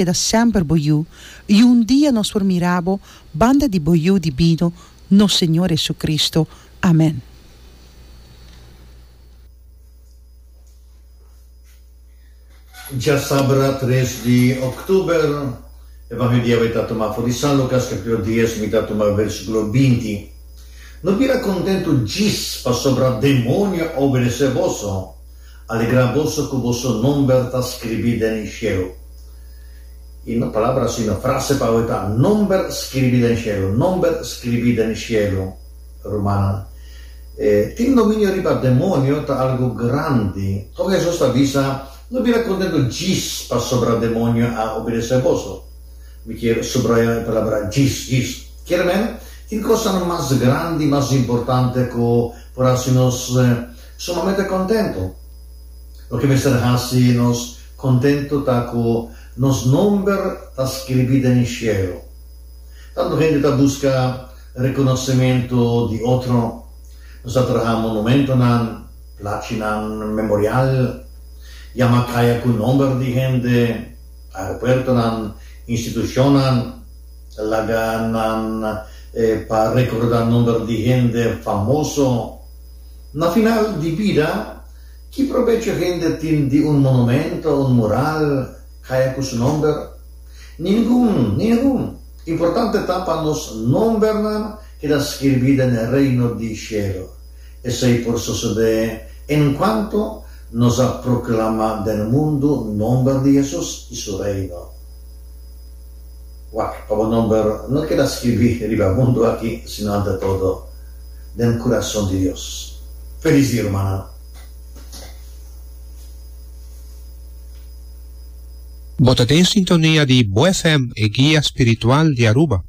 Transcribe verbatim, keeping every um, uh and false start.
Keda semper bo Yu, i un dia nos por mira bo banda di bo Yu dibino, nos Señor Jesucristo. Amen. Djasabra tres di òktober, Evangelio di awe ta tuma for di San Lukas kapítulo dies, mi ta tuma versíkulo binti. No bira kontentu djis pasobra demonio a obedesé boso, alegrá boso ku boso nomber ta skribí den shelu. I no palabra sino frase pa awe ta nomber skribí den shelu, nomber skribí den shelu, rumannan. E tin dominio riba demonio ta algu grandi. Tòg Hesus ta bisa, No bira kontentu djis pasobra demonio a obedesé boso. Mi kier subraya e palabra djis, djis. Kier men, tin kosnan mas grandi, mas importante ku por hasi nos sumamente kontentu. Loke mester hasi nos Kontentu ta ku nos nomber ta skribí den shelu. Tantu hende ta buska rekonosementu di otro. Nos ta traha monumentonan, plachinan memorial, yama kaya ku nomber di hende, aeropuertonan, institushonnan, laga nan pa rekordá nomber di hende famoso. Na final di bida, Ki probecho hende tin di un monumento, un mural, kaya ku su nomber? Ningun, ningun! Importante ta pa nos nombernan keda skirbí den e Reino di shelu. Esei por sosodé enkuanto nos a proklamá den mundu nomber di Hesus i su Reino. Wak, pa bo nomber no keda skirbí riba mundu aki, sino ante todo den kurason di Dios. Felis dia, rumannan! Bo ta den sintonia di Bo F M, e guia spiritual di Aruba.